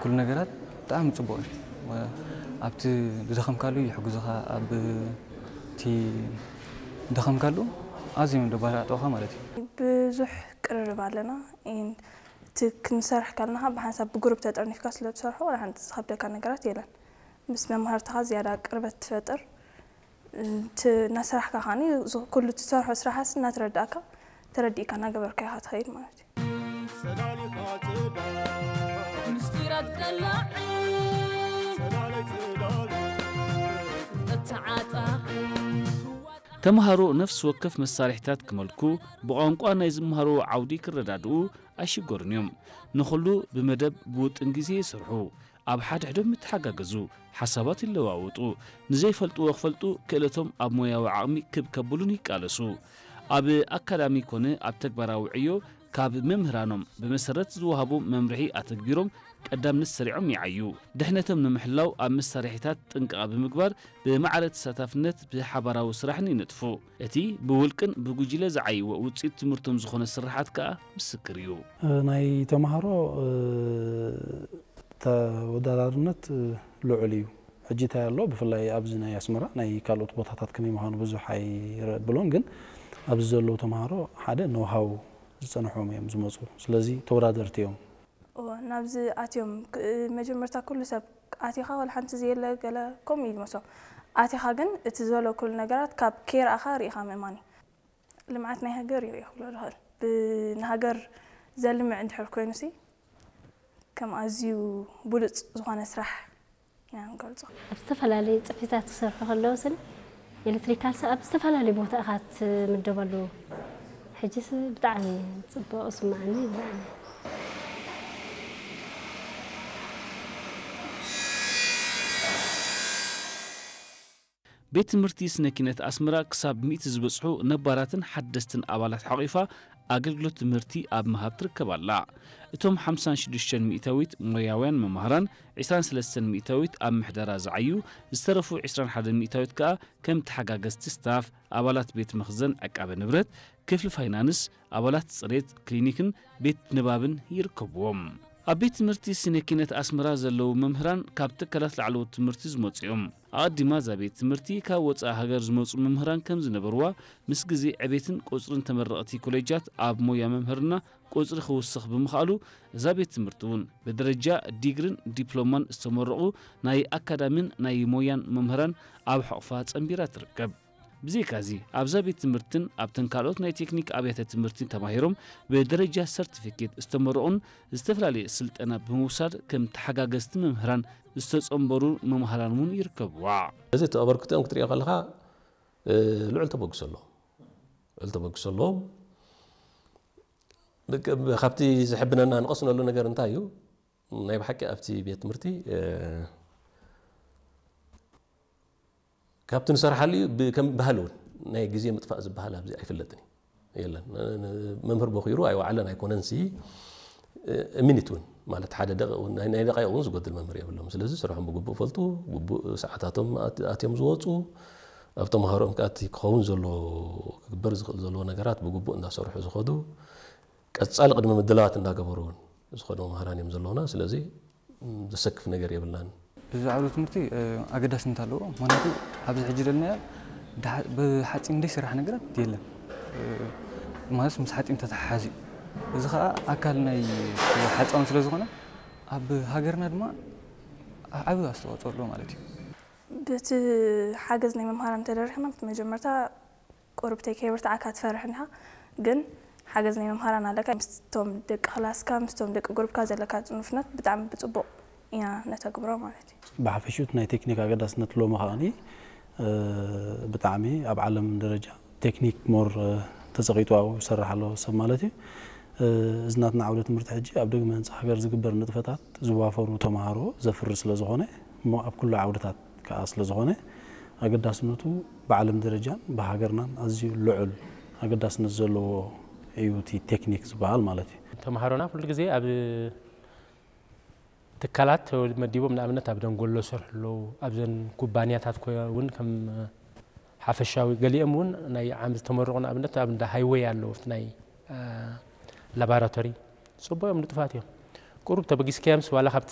ኩሉ ነገራት ብጣዕሚ ጽቡቕ እዩ። ኣብቲ ዝደኸምካሉ ይሕግዙኻ፣ ኣብ እቲ ዝደኸምካሉ ኣዝዮም ደባራጥዑኻ ማለት እዩ። ብዙሕ ቅርርብ ኣለና። ኢን-፣ እቲ ክንሰርሕ ከለና ብሓንሳብ ብግሩፕ ተጠርኒፍካ ስለ ትሰርሖ ዋላ ሓንቲ ዝኸብደካ ነገራት የለን። ምስ መምሃርትኻ ዝያዳ ቅርበት ትፈጥር። እቲ እናሰራሕካ ከዓኒ ዝ-፣ ኩሉ ትሰርሖ ስራሓስ እናተረዳእካ፣ ተረዲእካ እናገበርካ ኢኻ ትኸይድ ማለት እዩ። ምስጢራት ቀላዒ ፍልጠት ተዓጣቒ ተምሃሮ ነፍሲ ወከፍ መሳርሒታት ክመልኩ ብቋንቋ ናይ ዝመሃርዎ ዓውዲ ክረዳድኡ ኣይሽገሩን እዮም። ንኹሉ ብመደብ ብውጥን ግዜ ይሰርሑ። ኣብ ሓድሕዶም ይተሓጋገዙ፣ ሓሳባት ይለዋወጡ፣ ንዘይፈልጥዎ ክፈልጡ ክእለቶም ኣብ ሞያዊ ዓቕሚ ክብ ከብሉን ይቃለሱ። ኣብ ኣካዳሚ ኮነ ኣብ ተግባራዊ ዕዮ ካብ መምህራኖም ብመሰረት ዝወሃቦም መምርሒ ኣተግቢሮም ቀዳምነት ሰሪዖም ይዓዩ። ድሕነቶም ንምሕላው ኣብ መሳርሒታት ጥንቃቐ ብምግባር ብማዕረ ተሳታፍነት ብሓባራዊ ስራሕን ይነጥፉ። እቲ ብውልቅን ብጉጅለ ዝዓይዎ ውፅኢት ትምህርቶም ዝኾነ ስርሓት ከኣ ምስክር እዩ። ናይ ተምሃሮ ተወዳዳርነት ልዑል እዩ። ሕጂ እንታይ ኣሎ ብፍላይ ኣብዚ ናይ ኣስመራ ናይ ካልኦት ቦታታት ከመይ ምዃኑ ብዙሕ ኣይረብሎን ግን ኣብዚ ዘለዉ ተምሃሮ ሓደ ኖሃው ዝፀንሖም እዮም ዝመፁ ስለዚ ተወዳደርቲ እዮም። እወ ናብዚ ኣትዮም መጀመርታ ኩሉ ሰብ ኣቲኻ ወላ ሓንቲ ዘየለ ገለ ከምኡ እዩ ዝመስሎም ኣቲኻ ግን እቲ ዘሎ ኩሉ ነገራት ካብ ከይረኣኻ ርኢኻ ምእማን እዩ። ልምዓት ናይ ሃገር እዩ እየ ክብሎ ዝኽእል። ንሃገር ዘልምዕ እንድሕር ኮይኑሲ ከም ኣዝዩ ብሉፅ ዝኾነ ስራሕ ኢና ንገልፆ። ኣብ ዝተፈላለዩ ፅፍሕታት ክሰርሑ ከለውስን ኤሌክትሪካልስ ኣብ ዝተፈላለዩ ቦታ ኢኻ ትምደበሉ። ሕጂስ ብጣዕሚ ፅቡቕ ይስምዓኒ ብጣዕሚ። ቤት ትምህርቲ ስነ ኪነት ኣስመራ ክሳብ ሚእቲ ዝበጽሑ ነባራትን ሓደስትን ኣባላት ሓቒፋ ኣገልግሎት ትምህርቲ ኣብ ምሃብ ትርከብ ኣላ። እቶም ሓምሳን ሽዱሽተን ሚእታዊት ሞያውያን መማህራን፣ ዕስራን ሰለስተን ሚእታዊት ኣብ ምሕደራ ዝዓዩ፣ ዝተረፉ ዕስራን ሓደን ሚእታዊት ከኣ ከም ተሓጋገዝቲ ስታፍ፣ ኣባላት ቤት መኽዘን ዕቃበ ንብረት፣ ክፍሊ ፋይናንስ፣ ኣባላት ጽሬት፣ ክሊኒክን ቤት ንባብን ይርከብዎም። ኣብ ቤት ትምህርቲ ስነ ኪነት ኣስመራ ዘለዉ መምህራን ካብ ትካላት ላዕለዎት ትምህርቲ ዝመጹ እዮም። ኣቐዲማ እዛ ቤት ትምህርቲ ካብ ወጻኢ ሃገር ዝመጹ መምህራን ከም ዝነበርዋ፣ ምስ ግዜ ዕቤትን ቁጽርን ተመረቕቲ ኮሌጃት ኣብ ሞያ መምህርና ቁጽሪ ክውስኽ ብምኽኣሉ፣ እዛ ቤት ትምህርቲ እውን ብደረጃ ዲግርን ዲፕሎማን ዝተመረቑ ናይ ኣካዳሚን ናይ ሞያን መምህራን ኣብ ሕቑፋ ጸንቢራ ትርከብ። ብዘይካዚ ኣብዛ ቤት ትምህርትን ኣብተን ካልኦት ናይ ቴክኒክ ኣብያተ ትምህርትን ተማሂሮም ብደረጃ ሰርቲፊኬት ዝተመረቑን ዝተፈላለየ ስልጠና ብምውሳድ ከም ተሓጋገዝቲ መምህራን ዝተጸንበሩ መምሃራን እውን ይርከብዋ። እዚ እቲ ኣበርክቶኦም ክትሪኦ ከለኻ ልዑል ተበግሶ ኣለዎም። ልዑል ተበግሶ ኣለዎም። ካብቲ ዘሕብነና ንቐስነሉ ነገር እንታይ እዩ? ናይ ብሓቂ ኣብቲ ቤት ትምህርቲ ካብቲ ንሰርሓሉ እዩ ከም ባህሊ እውን ናይ ግዜ ምጥፋእ ዝበሃል ኣብዚ ኣይፍለጥን እዩ የለን መምህር በኪሩ ኣይወዓለን ኣይኮነንሲ ሚኒት እውን ማለት ሓደ ደቂቕ እውን ናይ ደቂቕ እውን ዝጎድል መምህር የብሎም ስለዚ ስርሖም ብግቡእ ፈልጡ ግቡእ ሰዓታቶም ኣትዮም ዝወፁ ኣብ ተምሃሮኦም ከኣ እቲ ክኸውን ዘለዎ ክግበር ዝኽእል ዘለዎ ነገራት ብግቡእ እንዳሰርሑ ዝኸዱ ቀጻሊ ቅድመ ምድላዋት እንዳገበሩ እውን ዝኸዱ መምህራን እዮም ዘለውና ስለዚ ዘሰክፍ ነገር የብልናን። እዚ ዓውደ ትምህርቲ ኣገዳስነት ኣለዎ ምክንያቱ ኣብዚ ሕጂ ዘለናዮ ብሓፂን ዘይስራሕ ነገራት የለን ማለት ምስ ሓፂን ተተሓሓዝ እዩ እዚ ከዓ ኣካል ናይ ሓፃውን ስለ ዝኾነ ኣብ ሃገርና ድማ ዓብዪ ኣስተዋፅኦ ኣለዎ ማለት እዩ። በቲ ሓገዝ ናይ መምሃራን ተደሪኽና በቲ መጀመርታ ቁሩብ ተይከይበርትዓካ ትፈርሕ እንዲኻ ግን ሓገዝ ናይ መምሃራን ኣለካ ምስቶም ደቂ ክላስካ ምስቶም ደቂ ጉሩብካ ዘለካ ንፉነት ብጣዕሚ ብፅቡቕ ኢና ነተግብሮ ማለት እዩ። ብሓፈሽኡ እቲ ናይ ቴክኒክ ኣገዳስነት ሎሚ ከኣ ብጣዕሚ ኣብ ዓለም ደረጃ ቴክኒክ more ተፀቒጡ ኣብኡ ይሰርሕ ኣሎ ሰብ ማለት እዩ። እዚ ናትና ዓውደ ትምህርቲ ሕጂ ኣብ ዳግመ ህንፃ ሃገር ዝግበር ንጥፈታት ዝዋፈሩ ተምሃሮ ዘፍሪ ስለዝኾነ እሞ ኣብ ኩሉ ዓውድታት ከኣ ስለዝኾነ ኣገዳስነቱ ብዓለም ደረጃን ብሃገርናን ኣዝዩ ልዑል ኣገዳስነት ዘለዎ እዩ እቲ ቴክኒክ ዝበሃል ማለት እዩ። ተምሃሮና ኩሉ ግዜ ኣብ ትካላት መዲቦም ንኣብነት ኣብ ደንጎሎ ዝሰርሑ ኣለዉ ኣብዘን ኩባንያታት እውን ከም ሓፈሻዊ ገሊኦም እውን ናይ ዓም ዝተመረቑ ንኣብነት ኣብ እንዳ ሃይወይ ኣለዉ ናይ ላባራቶሪ ፅቡቅ እዮም ንጡፋት እዮም ቁሩብ ተበጊስካዮምስ ዋላ ካብቲ